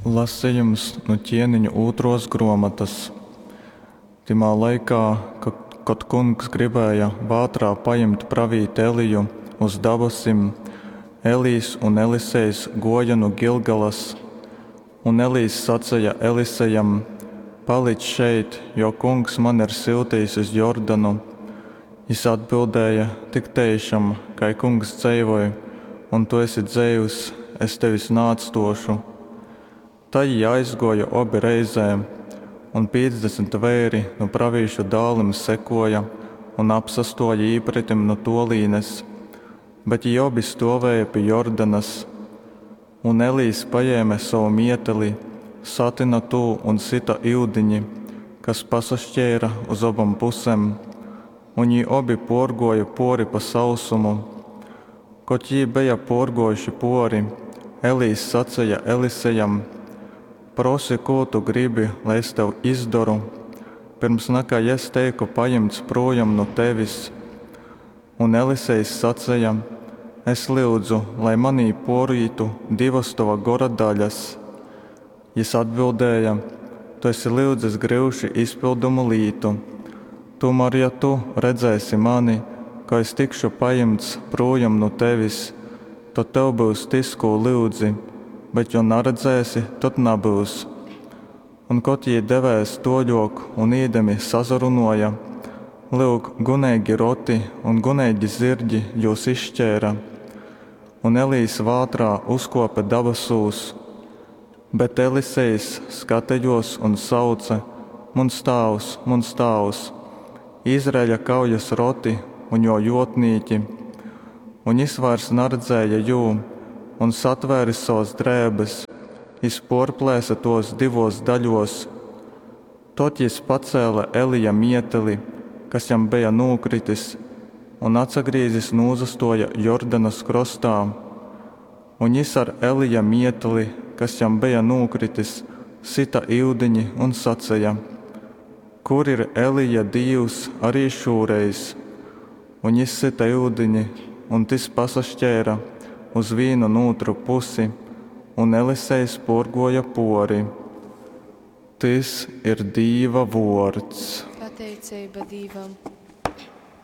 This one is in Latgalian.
Lasejums nu Ķieniņu ūtruos gruomotys. Tymā laikā, kod Kungs gribēja vātrā pajimt pravīti Eliju uz dabasim, Elijs un Elisejs guoja nu Gilgalas. Un Elijs saceja Elisejam, Palic šeit, jo Kungs mani ir syutejis uz Jordanu. Jys atbildēja, Tik teišam, kai Kungs dzeivoj, un tu esi dzeivs, es tevis naatstōšu. Tai jī aizgōja obi reizē. Un 50 veiri nu pravīšu dālim sekōja un apsastōja īpretim nu tōlīnes, bet jī obi stōvēja pi Jordanas. Un Elijs pajēme sovu mieteli, satyna tū un syta yudiņi, kas pasaškeira uz obom pusem, un jī obi pōrgōja pōri pa sausumu. Kod jī beja pōrgōjuši pōri, Elijs saceja Elisejam, Prosi, kū tu gribi, lai es tev izdoru, pyrms nakai es teiku pajimts prūjom nu tevis? Un Elisejs saceja, Es lyudzu, lai manī pōrītu divas tova gora daļas. Jys atbildēja, Tu esi lyudzis gryuši izpildomu lītu. Tūmār, ja tu redzēsi mani, ka es tikšu pajimts prūjom nu tevis, tod tev byus tys, kū lyudzi, bet jo naredzēsi, tod nabyus. Un kod jī devēs tōļōk un īdami sasarunōja, lyuk, guneigi roti un guneigi zyrgi jūs izškeira. Un Elijs vātrā uzkōpe dabasūs. Bet Elisejs skatejōs un sauce, Muns tāvs, muns tāvs, Izraeļa kaujas roti un jō jōtnīki! Un jys vairs naredzēja jū, un, satvēris sovas drēbes, jys pōrplēse tōs divōs daļōs. Tod jys pacēle Elija mieteli, kas jam beja nūkritis, un atsagrīzis nūsastōja Jordanas krostā. Un jys ar Elija mieteli, kas jam beja nūkritis, syta yudiņi un saceja, Kur ir Elija Dīvs ari šūreiz? Un jys syta yudini, un tys pasaškeira uz vīnu un ūtru pusi, un Elisejs pōrgōja pōri. Tys ir Dīva vōrds. Pateiceiba Dīvam.